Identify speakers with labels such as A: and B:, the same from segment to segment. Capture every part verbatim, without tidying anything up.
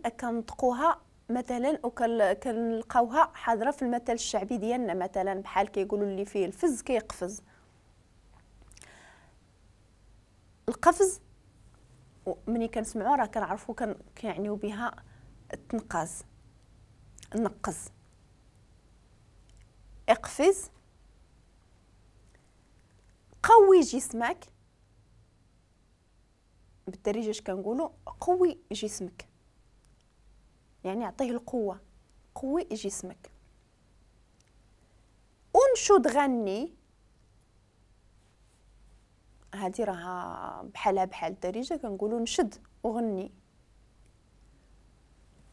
A: كنطقوها مثلا وكنلقاوها حاضره في المثل الشعبي ديالنا، مثلا بحال كيقولوا اللي فيه الفز كيقفز. القفز ملي كنسمعوا راه كنعرفوا كيعنيو بها التنقاز، النقز. اقفز، قوي جسمك، بالدارجة اش كنقولوا؟ قوي جسمك، يعني عطية القوة، قوي جسمك. انشد غني، هذه راها بحالها بحال الدارجة كنقولوا نشد وغني.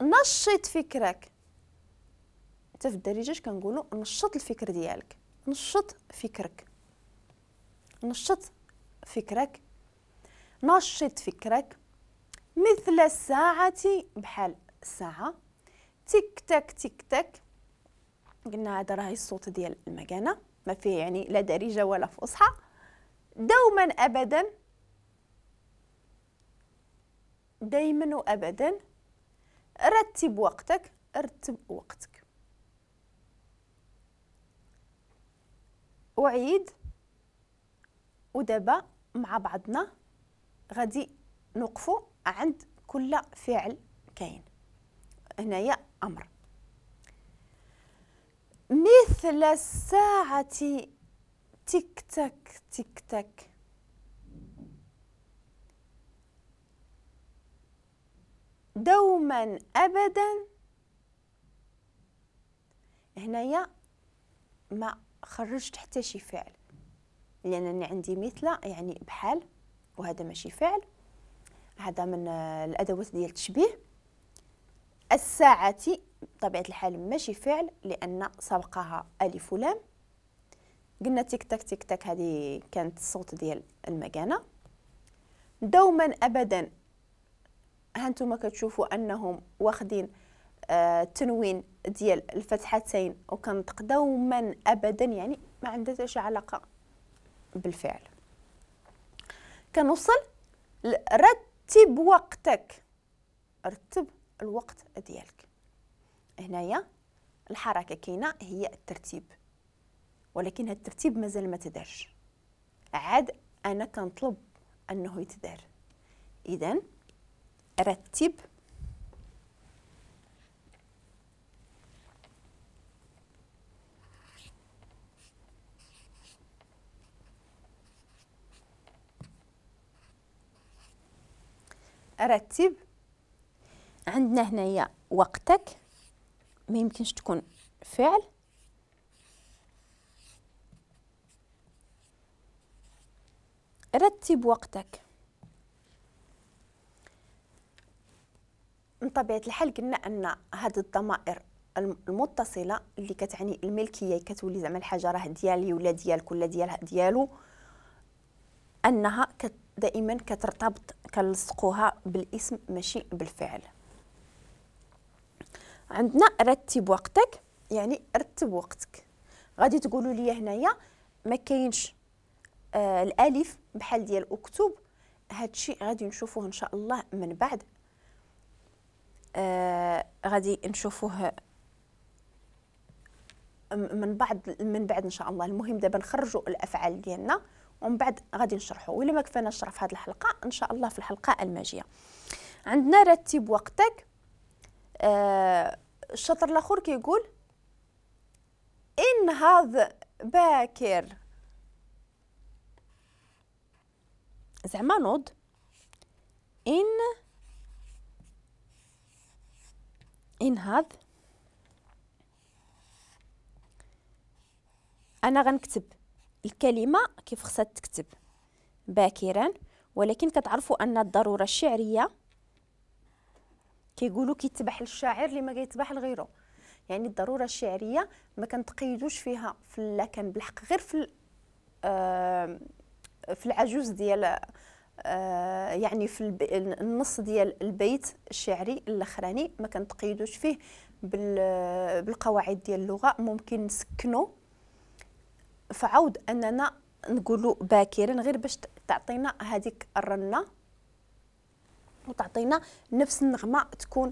A: نشط فكرك، حتى في الدارجة اش كنقولوا؟ نشط الفكر ديالك، نشط فكرك، نشط فكرك، نشط فكرك. مثل الساعة، بحال الساعة، تيك تاك تيك تاك. قلنا هذا راه الصوت ديال المكانة، ما فيه يعني لا دارجة ولا فصحى. دوما أبدا، دايما وأبدا. رتب وقتك، رتب وقتك. أعيد. ودابا مع بعضنا غادي نوقفوا عند كل فعل كاين هنايا أمر. مثل الساعة تيك تاك تيك تاك. دوما أبدا، هنايا ما خرجت حتى شي فعل لأنني عندي مثل يعني بحال، وهذا ماشي فعل، هذا من الأدوات ديال التشبيه. الساعة بطبيعة الحال ماشي فعل لأن سبقها ألف ولام. قلنا تيك تاك تيك تاك، هذه كانت الصوت ديال المكانة. دوما أبدا، هانتوما كتشوفوا أنهم واخدين آه التنوين ديال الفتحتين وكنطق دوما أبدا، يعني ما عندها حتى شي علاقة بالفعل. كنوصل رتب وقتك، رتب الوقت ديالك. هنايا الحركة كاينة هي الترتيب، ولكن هاد الترتيب مازال ما تدارش، عاد أنا كنطلب أنه يتدار. إذن رتب رتب. عندنا هنايا وقتك ما يمكنش تكون فعل، رتب وقتك. من طبيعة الحال قلنا أن هاد الضمائر المتصلة اللي كتعني الملكية، كتولي زعما الحاجة راه ديالي ولا ديالك ولا ديالها ديالو، أنها كت دائما كترتبط، كنلصقوها بالاسم ماشي بالفعل. عندنا رتب وقتك يعني رتب وقتك. غادي تقولوا لي هنايا ما كاينش آه الالف بحال ديال اكتب، هادشي غادي نشوفوه ان شاء الله من بعد، آه غادي نشوفوه من بعد من بعد ان شاء الله. المهم دابا نخرجوا الافعال ديالنا ومن بعد غادي نشرحوا، ولا ما كفانا نشرح في هذه الحلقة ان شاء الله في الحلقة الماجيه. عندنا رتب وقتك. آه الشطر الاخر كيقول انهض باكر، زعما نوض. ان انهض، انا غنكتب الكلمة كيف خصها تكتب باكرا، ولكن كتعرفوا ان الضرورة الشعرية كيقولوا كيتبح للشاعر اللي ما كيتبح لغيره، يعني الضرورة الشعرية ما كنتقيدوش فيها في لا كان بالحق غير في آه في العجوز ديال آه يعني في النص ديال البيت الشعري الاخراني ما كنتقيدوش فيه بالقواعد ديال اللغة، ممكن نسكنو فعود اننا نقولوا باكرا غير باش تعطينا هذيك الرنه. وتعطينا نفس النغمة تكون.